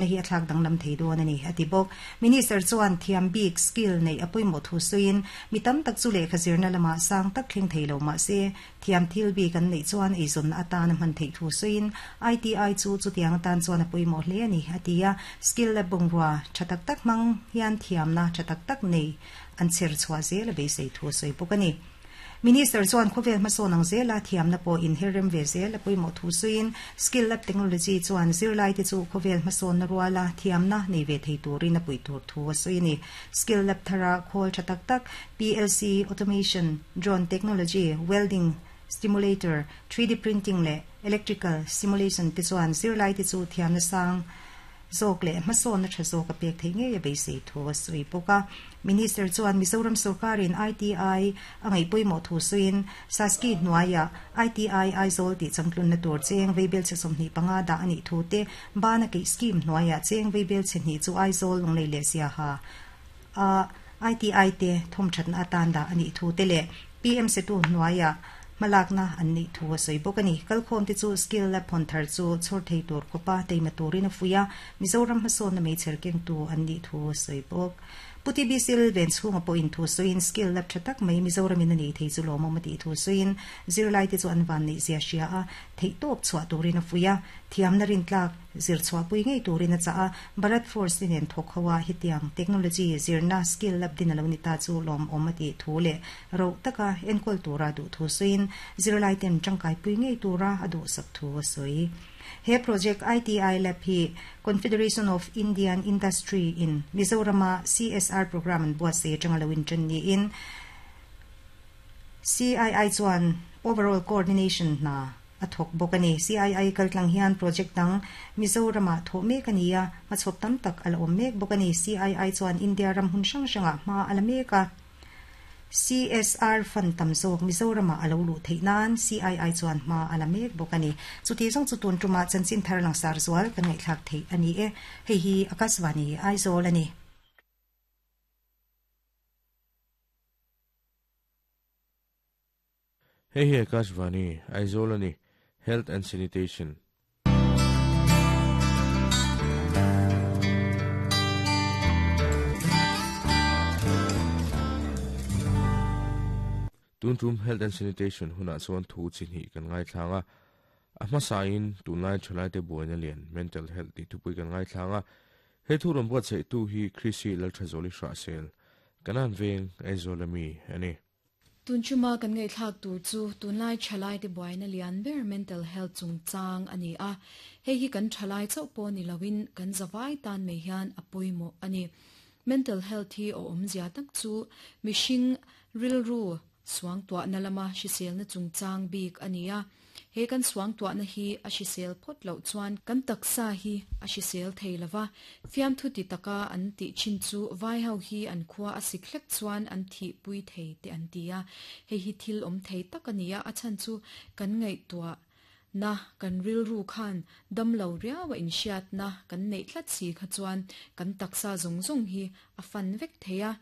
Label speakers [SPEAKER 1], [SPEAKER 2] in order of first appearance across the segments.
[SPEAKER 1] Hi a thlak danglam thei dawn a ni, a ti bawk. Minister chuan thiam bik, skill, neih a pawimawh thu sawiin, mi tam tak chu lehkha zirna lamah sang tak thleng thei lo mah se, thiam thil bik an neih chuan eizawnna atan a hman theih thu sawiin, ITI chu chutiang atan chuan a pawimawh hle a ni, a ti a. Skill lab bungrua tha tak tak hmang hian thiamna tha tak tak nei an chher chhuah zel a beisei thu a sawi bawk a ni. Minister chuan khawvel hmasawn ang zela thiamna pawh inher rem ve zel a pawimawh thu sawiin, Skill Lab Technology chuan zirlaite chu khawvel hmasawnna ruala thiamna nei ve thei turin a puih tur thu a sawi a ni. Skill Lab thara khawl tha tak tak, PLC, Automation, Drone Technology, Welding Stimulator, 3D Printing leh Electrical Simulation te chuan zirlaite chu thiamna sang zawk leh hmasawnna tha zawk a pek theih ngei a beisei thu a sawi bawk a. Minister chuan Mizoram sorkarin ITI a ngaih pawimawh thu sawiin SASCI hnuaiah ITI Aizawl tih changtlunna tur cheng veibelchhe 25 dah a nih thu te, Bana keih scheme hnuaiah cheng veibelchhe hnih chu Aizawl Lunglei leh Siaha a ITI te thawmthatna atan dah a nih thu te leh PM Setu hnuaiah hmalakna an neih thu a sawi bawk a ni. Kalkhawmte chu skill lab hawn thar chu chhawr thei tur khawpa teima turin a fuih a, Mizoram hmasawnna meichher kengtu an nih thu a sawi bawk. Pu TB Sil ven chhunga pawhin thu sawiin skill lab tha tak mai Mizoramin a nei thei chu lawmawm a tih thu sawiin zirlaite chu an van neih zia hria a, theihtawp chhuah turin a fuih a, thiamna rintlak zir chhuahpui ngei turin a chah a, Bharat Force te nen thawk ho a hetiang technology zirna skill lab din a lo ni ta chu lawmawm a tih thu leh roh taka enkawl tura duh thu sawiin zirlaiten tangkaipui ngei tura a duhsak thu a sawi. He project ITI Lab hi Confederation of Indian Industry in Mizorama CSR programme an buatsaih atanga lo intan niin CII chuan overall coordination hna a thawk bawk a ni. CII kaltlang hian project dang Mizoramah thawh mek a ni a, hmachhawp tam tak a la awm mek bawk a ni. CII chuan India ram hun hrang hrangah hma a la mek a. CSR fund tam zawk Mizoramah a lo luh theih nan CII chuan hma a la mek bawk a ni. Chuti zawng chu tun tumah chanchin thar langsar zual kan ngaihthlak theih a ni e. Hei hi Akashvani Aizawl a ni.
[SPEAKER 2] Hei hi Akashvani Aizawl a ni. Health and Sanitation. Tun tum Health and Sanitation hunah chuan thu chi hnih kan ngaithlang a, a hmasain tunlai thalaite buaina lian Mental Health tih thupui kan ngaithlang a, he thu rawn buatsaihtu hi Chrissy Lalthazawli Hrahsel, Kanan Veng, Aizawl ami a ni.
[SPEAKER 3] Tun chuma kan ngaihthlak tur chu tunlai thalaite buaina lian ber mental health chungchang a ni a, hei hi kan thalai chauh pawh ni loin kan zavai tan mai hian a pawimawh a ni. Mental health hi a awmzia tak chu mihring rilru suangtuahna lama hriselna chungchang bik a ni a. He kan suangtuahna hi a hrisel phawt loh chuan kan taksa hi a hrisel thei lo va, fiamthu ti taka an tih thin chu vai ho hi an khua a sik hlek chuan an thihpui thei te an ti a. Hei hi thil awm thei tak a ni a, a chhan chu kan ngaihtuah na, kan rilru khan dam lo riau a inhriatna kan neih tlat si kha chuan kan taksa zawng zawng hi a fan vek thei a,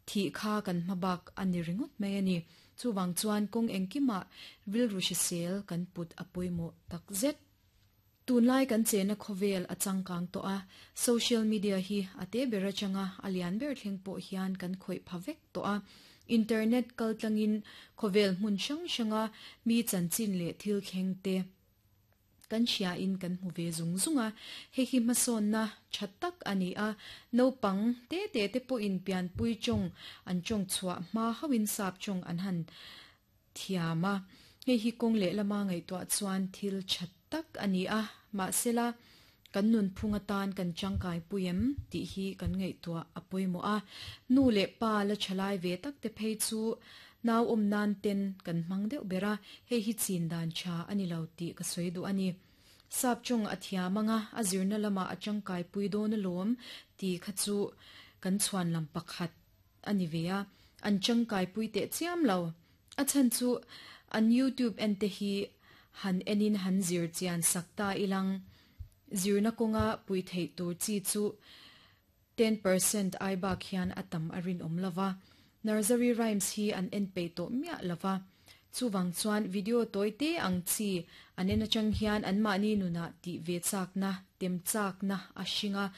[SPEAKER 3] Thih kha kan hma bak a ni ringawt mai a ni. Chuvang chuan kawng engkimah rilru hrisel kan put a pawimawh tak zet. Tunlai kan chena khawvel a changkang tawh a, social media hi a te ber atanga a lian ber thleng pawh hian kan khawih pha vek tawh a. Internet kaltlangin khawvel hmun hrang hranga mi chanchin leh thil thleng te, Kan hriain kan hmu ve zung zung a, hei hi hmasawnna tha tak a ni a, naupang te te te pawhin pianpui tawng an tawng chhuah hma hauhin sap tawng an han thiam a, hei hi kawng lehlama ngaihtuah chuan thil tha tak a ni a, mahsela kan nunphung atan kan tangkai pui em tih hi kan ngaihtuah a pawimawh a, nu leh pa la thalai ve tak te phei chu Nau awm nan ten kan hmang deuh ber a, hei hi chin dan tha a ni lo tih ka sawi duh a ni. Sap tawng a thiam anga a zirna lamah a tangkai pui dawn alawm tih kha chu kan chhuan lam pakhat a ni ve a, an tangkai pui teh chiam lo. A chhan chu an YouTube en te hi han enin han zir chian sak ta ilang zirna kawnga pui theih tur chi chu 10% ai bak hian a tam a rinawm lo va, nursery rhymes hi an en peih tawh miah lo va. Chuvang chuan video tawi te ang chi an en atang hian anmahni nunah tih ve chakna, tem chakna a hring a.